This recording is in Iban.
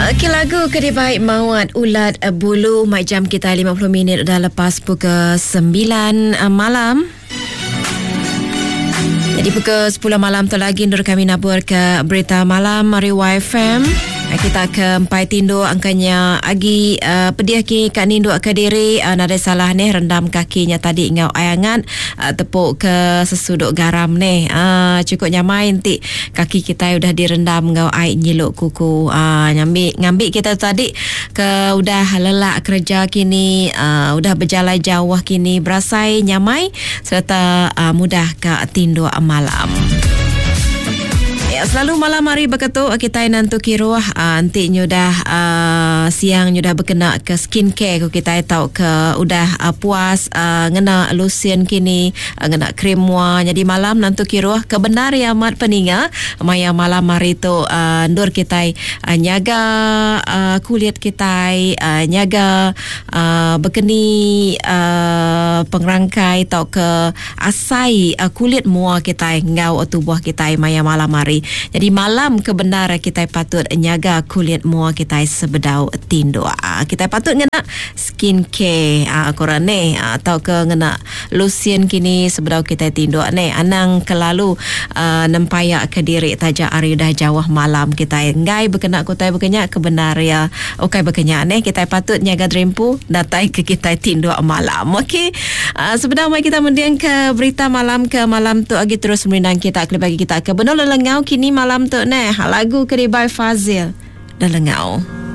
Okey lagu ke dibai Mawat Ulat Bulu mai jam kita 50 minit udah lepas pukul 9 eh, malam. Jadi pukul 10 malam tu lagi nur kami nabur ke berita malam hari YFM. Eh, kita ke empai tinduk angkanya agi uh, pedih ki ka ninduk ke diri uh, nadai salah neh rendam kakinya tadi ngau ai angat uh, tepuk ke sesuduk garam neh uh, cukup nyamai enti Kaki kitai udah direndam enggau ai nyilu kuku. Aa nyambi ngambi kita tu tadi ke udah lelak kereja kini aa udah bejalai jauh kini berasai nyamai sereta aa mudah ka tinduk malam. Ya, selalu malam hari beketu kitai nentu kiruh aa enti nyudah aa siang nyudah bekena ke skin care ku kitai tauka udah aa puas aa ngena lusin kini Ngena krim mua nyadi malam nentu kiruh ke bendar iya amat peninga maya malam hari tu endur kitai nyaga kulit kitai nyaga bekeni pengerangkai tauka asai kulit mua kitai enggau tubuh kitai maya malam hari. Nyadi malam ke bendar kitai patut nyaga kulit mua kitai sebedau tinduk. Kitai patut ngena skin care ku orang neh tauka ngena Lusin kini sebedau kitai tinduk neh anang kelalu nempaya ke diri taja ari udah jauh malam kitai enggai bekena ke utai baka nya ke bendar iya ukai baka nya neh kitai patut nyaga diri empu datai ke kitai tinduk malam ok sebedau mai kita mending ke berita malam ke malam tu agi terus merindang kita kelebih agi kita ke benung lelengau kini malam tu neh lagu ke dibai Fazil lelengau.